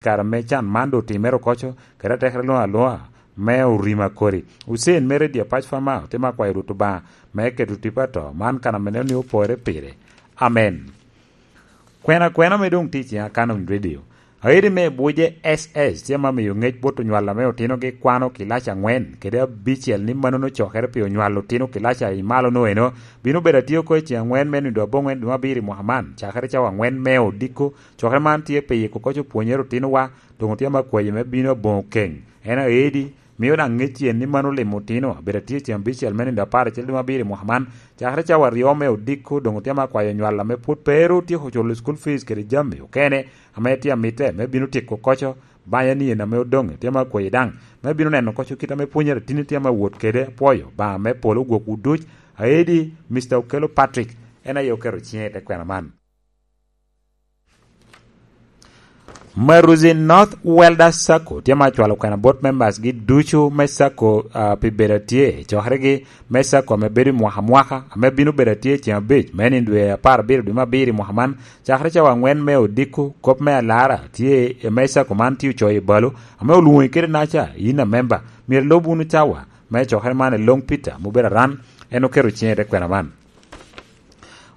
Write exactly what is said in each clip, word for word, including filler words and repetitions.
kare me can man doŋ otimere okoco, kede atekere luŋ aluŋa me orima kodi. Hussein mere i dye pac Fama otimo akwayo Rwot Obaŋa me keto tipo ato man kan ame neno ni opore pire. Amen. Kwena kwena me doŋ tye i ciŋa Canon Radio. Aedi me Buje S S tye ma miyo ŋec bot onywal ame otinogi kwano kilaci aŋwen kede abicel ni mannono cokere pi onywal otino kilaci a i malo no eno bino bedo atye oko i ciŋ aŋwen me nindo aboŋwen dwe me abiro i mwaka man, cakere cawa aŋwen me odiko. Cokere man tye pi yiko koc opwonyere otinowa, doŋ otye ma kwayo me bino aboŋo keŋ. En aedi, mio daŋ ŋec cen ni mano limo otino, abedo atye i ciŋ abicel me nindo apar acel dwe me abiro i mwaka man, cakere cawa aryo me odiko, doŋ otye ma kwayo onywal ame pwod pe ru otyeko culo school fees kede jami okene, ame tye amitte me bino tyeko koco, banya ni en ame odoŋ, tye ma kwayo daŋ, me bino neno koco kit ame pwonyere atini tye ma wot kede apwoyo, Obaŋa me polo gwokwu duc, aedi, Mister Okello Patrick, en aye oketo ciŋe i te kwena man. Maruzi North Welder Sacco tye ma cwalo kwena bot members gi ducu me Sacco, ah, pi bedo atye i cokeregi me Sacco ame bedo i mwaka mwaka, ame bino bedo atye i ceng abic me nino dwe apar abiro dwe me abiro i mwaka man, cakere cawa aŋwen me odiko. Kop me alara tye i me Sacco man tye ocoyo i balo, ame olwoŋi kede naca, in a member, myero ilob wunu cawa me cokere man i Long Peter, ma obedo aran, en oketo ciŋe i te kwena man.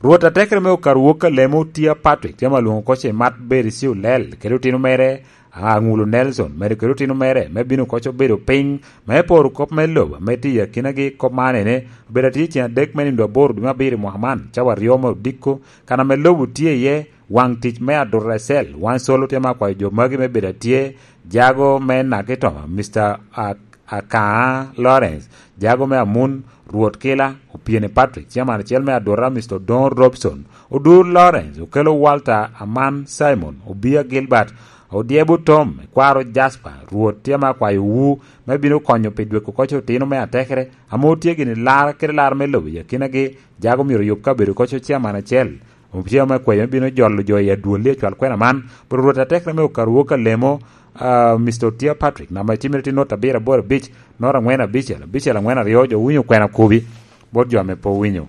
Rwot atekere me okaru wok alemo Tia Patrick tye ma lwoŋo koc i mat Berisi Olel kede otino mere, Aŋulo Nelson, medo kede otino mere, me bino koc obedo piny, me poro kop me lobo, me tiyo akinagi. Kop man ene, obedo atye cen adek me nindo aboro dwe me abiro i mwaka man, cawa aryo me odiko, kan ame lobo tye iye, waŋ tic me Aduresel, wan solo tye ma kwayo jo magi me bedo atye, jago me Nakitoma, Mister A-, Akaa Lawrence, jago me Amun, Rwot Kila, Opieni Patrick, chairman acel me Adura, Mister Odongo Robson, Odur Lawrence, Okello Walter, Aman Simon, Obia Gilbert, Odyebo Tom, Kwaro Jasper, Rwot tye ma kwayo wu me bino konyo pi dweko koc otino me atekere, ame otye gini lar kede lar me lobo i akinagi, jago myero oyub kabedo koc chairman acel. Omtye ame kwayo me bino jolo jo i adwolli acwal kwena man, bot Rwot atekere me okaru wok alemo, ah, Mister Otia Patrick, namba icimere tye not abiro aboro abic, not aŋwen abicel, abicel aŋwen aryo, jo winyo kwena kobi, bot jo ame pe owinyo.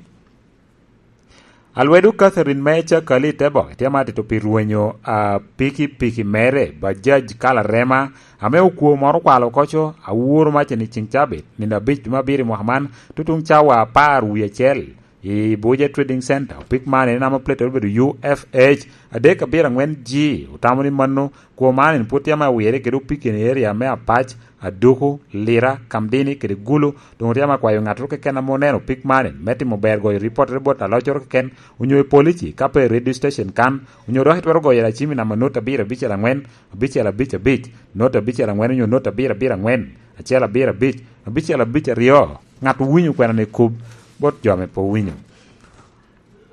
Alwedo Catherine me Cakali te boke tye ma tito pi rwenyo, ah, pikipiki mere, Bajaj kala rema, ame okwo moro okwalo koco, awuro maca ni ceng cabit, nino abic dwe me abiro i mwaka man, tutuŋ cawa apar wie acel. I Buja Trading Center, opik man en ame plate obedo U F H adek abiro aŋwen G, otamo ni mano kwo man en pwod tye ame awire kede opik i area me Apac, Aduku, Lira, Kamdini kede Gulu, doŋ otye ame akwayo ŋattoro keken ame oneno opik man en me timo ber goyo ripottere bot aloccoro keken, onyo i polici, ka pe i radio station kan, onyo dok itwero goyo lacim i namba not abiro abicel aŋwen, abicel abic abic, not abicel aŋwen onyo not abiro abiro aŋwen, acel abiro abic, abicel abic aryo. Ŋat owinyo kwena ni kub bot jo ame pe owinyo.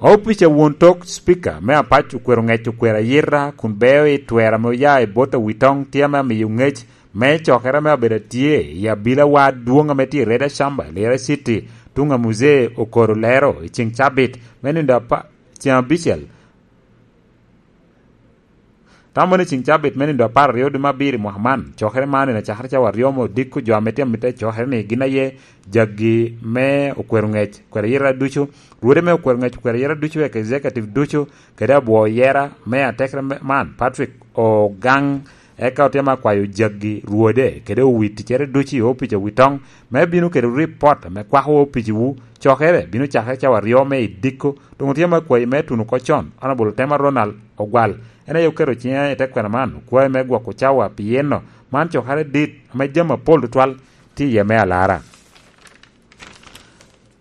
Opic a won tok Speaker me Apac okwero ŋec okwero ayita kun beo i twero ame oya i bot Awitoŋ tye ame amiyo ŋec me cokere ame abedo atye i abilawa adwoŋ ame tye i Reda Shamba, Lira City, tuŋ a Muzee Okoro Lero i ceng cabit me nindo apa-, ceng abicel. Tamo ni ceng cabit me nindo apar aryo dwe me abiro i mwaka man, cokere man en acakere cawa aryo me odiko jo ame tye amitte i cokere ni gin aye jaggi me okwero ŋec, okwero ayita ducu, rwode me okwero ŋec, okwero ayita ducu, eka executive ducu, kede abwo yera me atekere me-, man, Patrick Ogang, eka otye ma kwayo jaggi rwode, kede owi ticcere ducu i opic Awitoŋ, me bino kede ripot ame kwako opiciwu, cokere bino cakere cawa aryo me idiko, doŋ otye ma kwayi me tuno oko con, Honorable Tema Ronald Ogwal, en aye oketo ciŋe i te kwena man, okwae me gwoko cawa pi yeno. Man cokere dit ame jami apol tutwal tye iye me alara.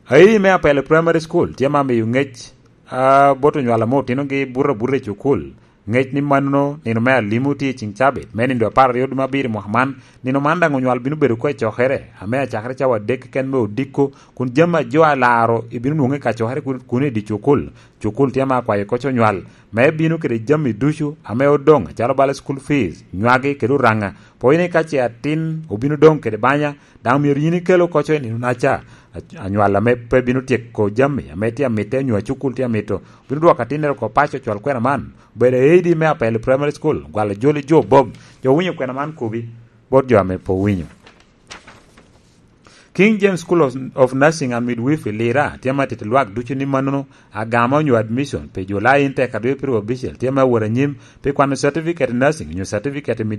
Ayi me Apele Primary School tye ma miyo ŋec, ah, bot onywal ame otinogi buto abuta i cukul. Ŋec ni mannono, nino me alimo tye i ceng cabit, me nindo apar aryo dwe me abiro i mwaka man. Nino man daŋ onywal bino bedo oko i cokere, ame acakere cawa adek keken me odiko, kun jami a jo alaro ibino nwoŋo i kacokere kun, kun i dye cukul. Cukul tye ma akwayo koc onywal, me bino kede jami ducu ame odoŋ, acalo bala school fees, nywagi kede Oraŋa. Pwony ni ka ce atin obino doŋ kede banya, daŋ myero yin ikel oko co i nino-naca. A-, anywal ame pe bino tyeko jami ame tye amitte, onyo acukul tye amito, bino dwoko atinnere oko paco cwal kwena man. Obedo A D me Apele Primary School, gwalo joli jo Bob. Jo owinyo kwena man kobi, bot jo ame pe owinyo. King James School of, of Nursing and Midwifery Lira tye ma tito lwak ducu ni mannono agama onyo admission pi July intek a dwe pirwa abicel tye ma wot anyim pi kwano certificate nursing onyo certificate